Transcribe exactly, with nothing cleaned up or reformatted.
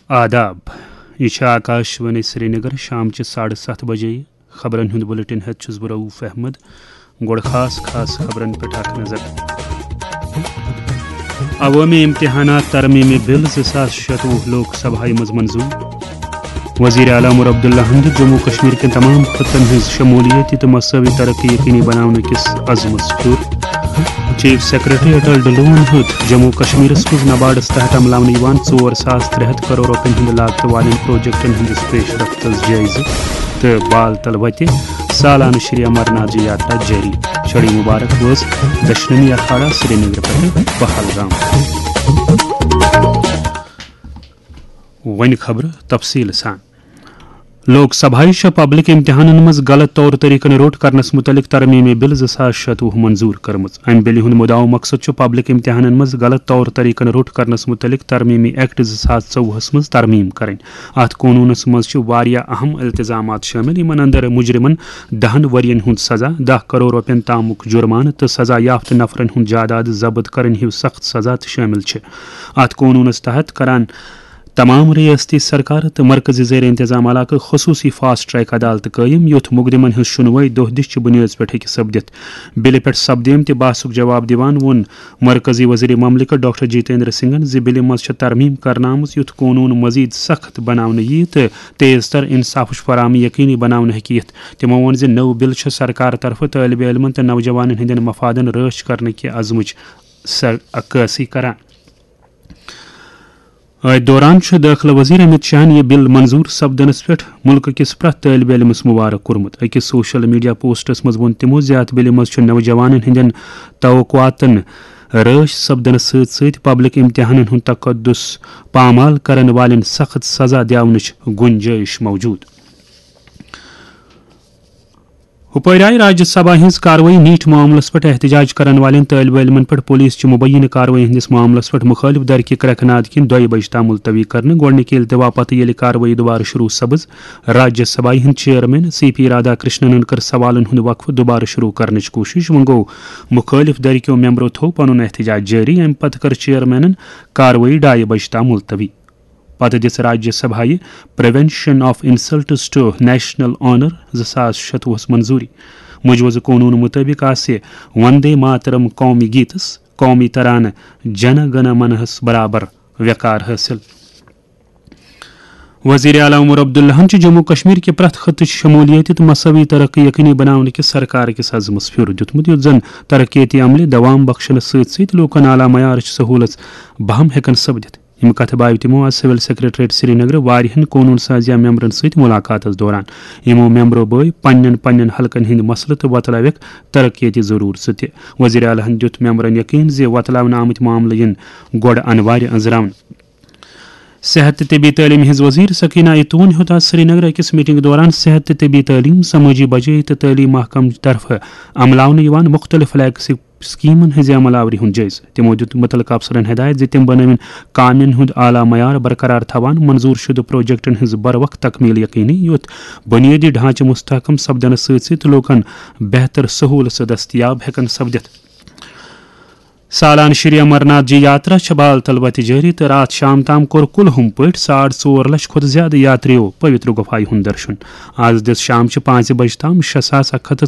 آداب، یہِ چھِ آکاش وانی سرینگر۔ شام چہِ ساڑٕ ستھ بجے خبرن ہُنٛد بلیٹن ہٮ۪تھ چھُس بہٕ رؤف احمد۔ گۄڈٕ خاص خاص خبرن پٮ۪ٹھ اکھ نظر۔ عوٲمی امتحانات ترمیمی بل زٕ ساس شتوُہ لوک سبھایہِ منٛز منظور۔ وزیر اعلیٰ عمر عبداللہ ہن دیُت جموں کشمیر کٮ۪ن تمام خطن ہٕنٛز شمولیت تہٕ مساوی ترقی یقینی بناونہٕ کِس عزمس پھیُر۔ چیف سیکرٹری اٹل ڈلون ہیوٚت جموں کشمیرس منٛز نباڈس تحت عملاونہٕ یِوان ژور ساس ترٛےٚ ہتھ کرور رۄپین ہٕنٛدِ لاگتہٕ والٮ۪ن پروجیکٹن ہٕنٛدِس پیش رفتس جٲیزٕ تہٕ بال تل وتہِ سالانہٕ شری امرناتھ جی یاترا جٲری۔ چھڑی مبارک وٲژ دشنمی اکھاڑا سرینگر پٮ۪ٹھٕ پہلگام۔ وۄنۍ خبرٕ تفصیٖل سان۔ لوک سبھایہِ چھےٚ پبلک امتحانن منٛز غلط طور طریقن روٚٹ کرنس متعلق ترمیمی بل زٕ ساس شتوُہ منظور کٔرمٕژ۔ امہِ بلہِ ہُنٛد مُدعا مقصد چھُ پبلک امتحانن منٛز غلط طور طریقن روٚٹ کرنس متعلق ترمیمی ایکٹ زٕ ساس ژوٚوُہس منٛز ترمیم کرٕنۍ۔ اتھ قونوٗنس منٛز چھِ واریاہ اہم التزامات شٲمِل، یِمن اندر مجرمن دہن ؤرین ہُنٛد سزا، دَہ کرور رۄپین تامُک جرمانہٕ تہٕ سزا یافتہٕ نفرن ہُنٛد جائیداد ضبط کرٕنۍ ہیو سخت سزا تہِ شٲمِل چھِ۔ اتھ قونوٗنس تحت کران تمام ریاستی سرکار تہٕ مرکزی زیر انتظام علاقہٕ خصوصی فاسٹ ٹریک عدالتہٕ قٲیِم، یُتھ مقدمن ہٕنٛز شُنوٲیی دۄہ دِش چہِ بُنیٲدس پٮ۪ٹھ ہیٚکہِ سپدِتھ۔ بِلہِ پٮ۪ٹھ سپدیمتہِ بحثُک جواب دِوان ووٚن مرکزی وزیر مملکت ڈاکٹر جتیندر سنگھن زِ بِلہِ منٛز چھےٚ ترمیم کرنہٕ آمٕژ، یُتھ قونوٗن مزید سخت بناونہٕ ییہِ تہٕ تیز تر انصافٕچ فراہمی یقینی بناونہٕ ہیٚکہِ یِتھ۔ تِمو ووٚن زِ نٔو بِل چھےٚ سرکار طرفہٕ طٲلبہِ علمن تہٕ نوجوانن ہٕنٛدٮ۪ن مفادن رٲچھ کرنہٕ کہِ عزمٕچ سر-، عکٲسی کران۔ أتھۍ دوران چھُ دٲخلہٕ وزیر امت شاہن یہِ بل منظور سپدنس پٮ۪ٹھ ملکہٕ کِس پرٛٮ۪تھ طٲلبہِ علمس مبارک کوٚرمُت۔ أکِس سوشل میڈیا پوسٹس منٛز ووٚن تِمو زِ اتھ بلہِ منٛز چھُ نوجوانن ہٕنٛدٮ۪ن توقعاتن رٲچھ سپدنس سۭتۍ سۭتۍ پبلک امتحانن ہُنٛد تقدس پامال کرن والٮ۪ن سخت سزا دِیاونٕچ گنجٲیش موجود۔ ہُپٲرۍ آیہِ راجیہ سبھا ہٕنٛز کاروٲیی نیٖٹ معاملس پٮ۪ٹھ احتجاج کرن والٮ۪ن طٲلبہِ علمن پٮ۪ٹھ پولیس چہِ مبینہٕ کاروٲیی ہٕنٛدِس معاملس پٮ۪ٹھ مُخٲلف دھرکہِ کرٛٮ۪کھ ناد کِنۍ دۄیہِ بجہِ تام ملتوی کرنہٕ۔ گۄڈٕنِکہِ التوا پتہٕ ییٚلہِ کاروٲیی دُبارٕ شروٗع سپٕز، راجیہ سبھایہ ہٕنٛدۍ چیئرمین سی پی رادھا کرشننن کٔر سوالن ہُنٛد وقفہٕ دُبارٕ شروٗع کرنٕچ کوٗشش۔ وۄنۍ گوٚو، مُخٲلف دھرکیو ممبرو تھوٚو پنُن احتجاج جٲری۔ امہِ پتہٕ کٔر چیئرمینن کاروٲیی ڈایہِ بجہِ تام ملتوی۔ پتہٕ دِژ راجیہ سبھایہ prevention of insults to national honour زٕ ساس شتوُہس منظوٗری۔ مجوزٕ قونوٗن مُطٲبِق آسہِ وندے ماترم قومی گیتس قومی ترانہٕ جن گن منہس برابر وقار حٲصِل۔ وزیر اعلیٰ عمر عبداللہن چھِ جموں کشمیر کہِ پرٛٮ۪تھ خطٕچ شمولیت تہٕ مساوی ترقی یقینی بناونہٕ کِس سرکار کِس عزمس پھیُر دیُتمُت، یُتھ زن ترقیتی عملہِ دوام بخشنس سۭتۍ سۭتۍ لوٗکن اعلیٰ معیارٕچ سہوٗلژ بہم ہٮ۪کن سپدِتھ۔ یِم کتھٕ باوِ تِمو آز سول سیکرٹریٹ سرینگرٕ واریاہن قونوٗن سازیہ ممبرن سۭتۍ ملاقاتس دوران۔ یِمو ممبرو بٲوۍ پننٮ۪ن پننٮ۪ن حلقن ہٕنٛدۍ مسلہٕ تہٕ وۄتلٲوِکھ ترقیتی ضروٗرژٕ تہِ۔ وزیر اعلیٰ ہن دیُت ممبرن یقین زِ وۄتلاونہٕ آمٕتۍ معاملہٕ یِن گۄڈٕ انوارِ أنٛزراونہٕ۔ صحت تہٕ طبی تعلیٖم ہٕنٛز وزیر سکینہ ایتون ہیوٚت آز سرینگر أکِس میٹنگ دوران صحت تہٕ طبی تعلیٖم، سمٲجی بجٲیی تہٕ تعلیٖم محکمہٕ طرفہٕ عملاونہٕ یِوان مُختٔلِف فلیگ سکیمن ہٕنٛزِ عمل آوری ہُنٛد جٲیزٕ۔ تِمو دیُت مُتعلقہٕ افسرن ہدایت زِ تِم بنٲوِن کامٮ۪ن ہُنٛد اعلیٰ معیار برقرار تھاوان، منظور شدٕ پروجیکٹن ہٕنٛز بروقت تکمیل یقینی، یُتھ بنیٲدی ڈھانچہٕ مستحکم سپدنس سۭتۍ سۭتۍ لوٗکن بہتر سہوٗلژٕ دستیاب ہٮ۪کن سپدِتھ۔ سالانہٕ شری امرناتھ جی یاترا چھےٚ بال تل وتہِ جٲری تہٕ راتھ شام تام کوٚر کُلہُم پٲٹھۍ ساڑ ژور لچھ کھۄتہٕ زیادٕ یاتریو پویتر گُفایہِ ہُنٛد درشُن۔ آز دِژ شام چہِ پانٛژِ بجہِ تام شےٚ ساس اکھ ہتھ تہٕ